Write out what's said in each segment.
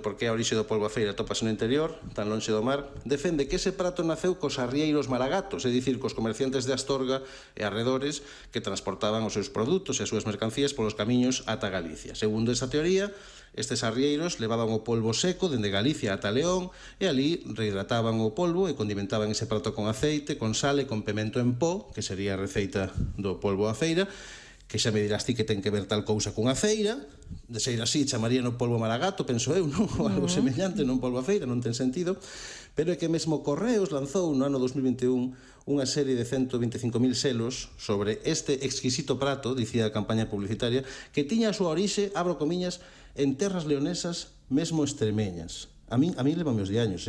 porque a orixe do polvo a feira atopase no interior, tan lonxe do mar, defende que ese prato naceu cos arrieiros maragatos, é dicir, cos comerciantes de Astorga e arredores que transportaban os seus produtos e as súas mercancías polos camiños ata Galicia. Segundo esa teoría, estes arrieiros levaban o polvo seco dende Galicia ata León e ali rehidrataban o polvo e condimentaban ese prato con aceite, con sal e con pemento en pó, que sería a receita do polvo a feira, que xa me dirás ti que ten que ver tal cousa cunha feira, de ser así chamaría no polvo maragato, penso eu, non? Ou algo semellante, non polvo a feira, non ten sentido, pero é que mesmo Correos lanzou no ano 2021 unha serie de 125.000 selos sobre este exquisito prato, dicía a campaña publicitaria, que tiña a súa orixe, abro comiñas, en terras leonesas, mesmo extremeñas. A mí levame os diaños,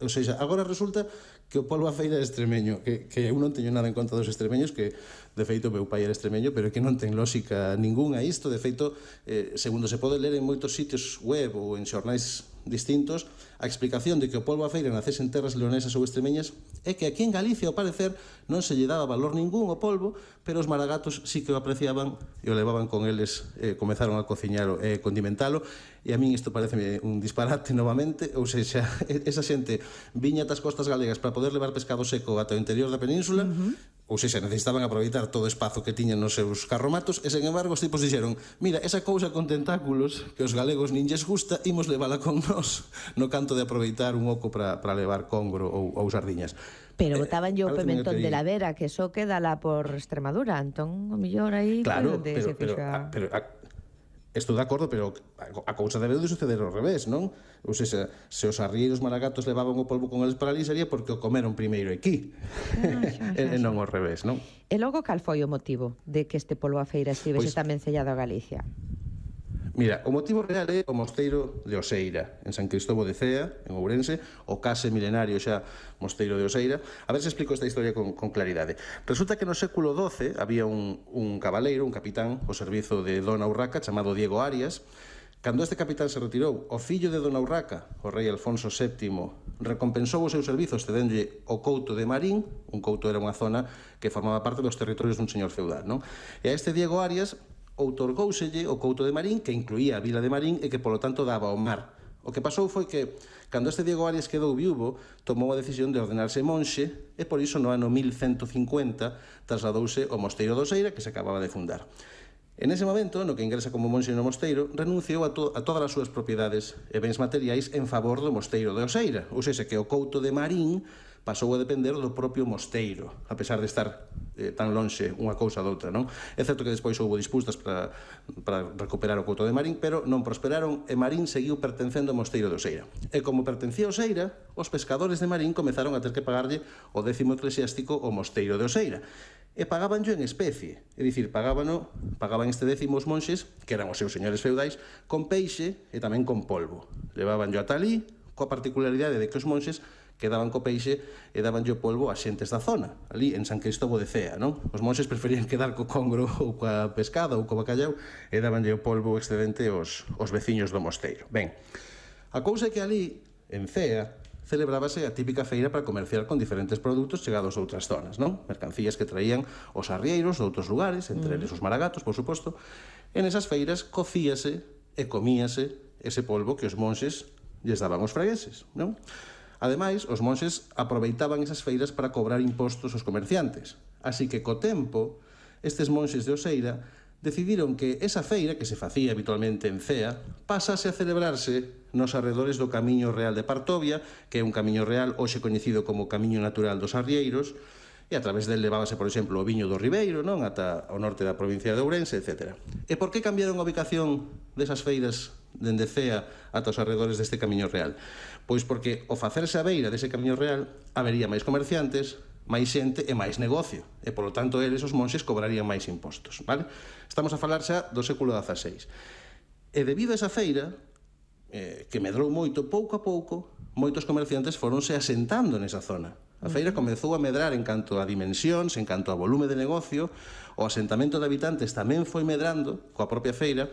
Ou seja, agora resulta que o polvo a feira é extremeño, que eu non teño nada en conta dos extremeños, que de feito meu pai era extremeño, pero que non ten lógica ninguna isto. De feito, segundo se pode ler en moitos sitios web ou en xornais distintos, a explicación de que o polvo a feira nacese en terras leonesas ou extremeñas é que aquí en Galicia, ao parecer, non se lle daba valor ningún ao polvo, pero os maragatos sí que o apreciaban e o levaban con eles, comezaron a cociñalo e condimentalo, e a min isto parece un disparate novamente. Ou seja, esa xente viña tas costas galegas para poder levar pescado seco ata o interior da península, ou seja, necesitaban aproveitar todo o espazo que tiñan nos seus carromatos, e, sen embargo, os tipos dixeron: mira, esa cousa con tentáculos que os galegos nin lles gusta, imos levala con nós no canto de aproveitar un oco para levar congro ou sardiñas. Pero botaban yo o pimentón de la Vera, que eso queda lá por Extremadura, entón, o mellor aí... Claro, pero estou de acordo, pero a cousa debe de suceder ao revés, non? Ou seja, se os arrieiros maragatos levaban o polvo con eles para ali, sería porque o comeron primeiro aquí, e non ao revés, non? E logo, cal foi o motivo de que este polvo a feira estivese tamén sellado a Galicia? Mira, o motivo real é o mosteiro de Oseira, en San Cristóbal de Cea, en Ourense, o case milenario xa mosteiro de Oseira. A ver se explico esta historia con claridade. Resulta que no século XII había un cabaleiro, un capitán, ao servizo de Dona Urraca, chamado Diego Arias. Cando este capitán se retirou, o fillo de Dona Urraca, o rei Alfonso VII, recompensou o seu servizo cedéndolle o couto de Marín. Un couto era unha zona que formaba parte dos territorios dun señor feudal, non? E a este Diego Arias outorgóuselle o couto de Marín, que incluía a vila de Marín e que, polo tanto, daba ao mar. O que pasou foi que, cando este Diego Arias quedou viúvo, tomou a decisión de ordenarse monxe e, por iso, no ano 1150, trasladouse ao mosteiro de Oseira, que se acababa de fundar. En ese momento, no que ingresa como monxe no mosteiro, renunciou a todas as súas propiedades e bens materiais en favor do mosteiro de Oseira. Ou seja, que o couto de Marín pasou a depender do propio mosteiro, a pesar de estar tan lonxe unha cousa doutra, non? É certo que despois houve disputas para recuperar o couto de Marín, pero non prosperaron e Marín seguiu pertencendo ao mosteiro de Oseira. E como pertencía a Oseira, os pescadores de Marín comezaron a ter que pagarlle o 10º eclesiástico ao mosteiro de Oseira. E pagabanllo en especie, é dicir, pagaban este 10º os monxes, que eran os seus señores feudais, con peixe e tamén con polvo. Levabanllo ata ali, coa particularidade de que os monxes quedaban co peixe e dabanlle o polvo a xentes da zona, ali en San Cristóbal de Cea, non? Os monxes preferían quedar co congro ou coa pescada ou co bacallau e dabanlle o polvo excedente aos veciños do mosteiro. Ben, a cousa é que ali, en Cea, celebrábase a típica feira para comerciar con diferentes produtos chegados a outras zonas, non? Mercancías que traían os arrieiros de outros lugares, entre eles os maragatos, por suposto. En esas feiras cocíase e comíase ese polvo que os monxes lles daban aos fregueses, non? Ademais, os monxes aproveitaban esas feiras para cobrar impostos aos comerciantes. Así que, co tempo, estes monxes de Oseira decidiron que esa feira, que se facía habitualmente en Cea, pasase a celebrarse nos arredores do Camiño Real de Partovia, que é un camiño real hoxe coñecido como Camiño Natural dos Arrieiros, e a través del levábase, por exemplo, o viño do Ribeiro, non? Ata o norte da provincia de Ourense, etc. E por que cambiaron a ubicación desas feiras dende Cea ata os arredores deste Camiño Real? Pois porque, ao facerse a beira dese Camiño Real, habería máis comerciantes, máis xente e máis negocio, e, polo tanto, eles, os monxes, cobrarían máis impostos, vale? Estamos a falar xa do século XVI. E debido a esa feira, que medrou moito, pouco a pouco, moitos comerciantes foronse asentando nesa zona. A feira comezou a medrar en canto a dimensións, en canto a volume de negocio, o asentamento de habitantes tamén foi medrando coa propia feira,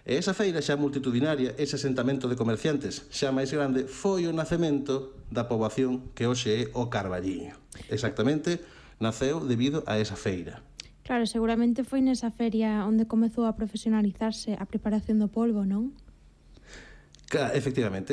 e esa feira xa multitudinaria, ese asentamento de comerciantes xa máis grande, foi o nacemento da poboación que hoxe é o Carballiño. Exactamente, naceu debido a esa feira. Claro, seguramente foi nesa feria onde comezou a profesionalizarse a preparación do polvo, non? Efectivamente.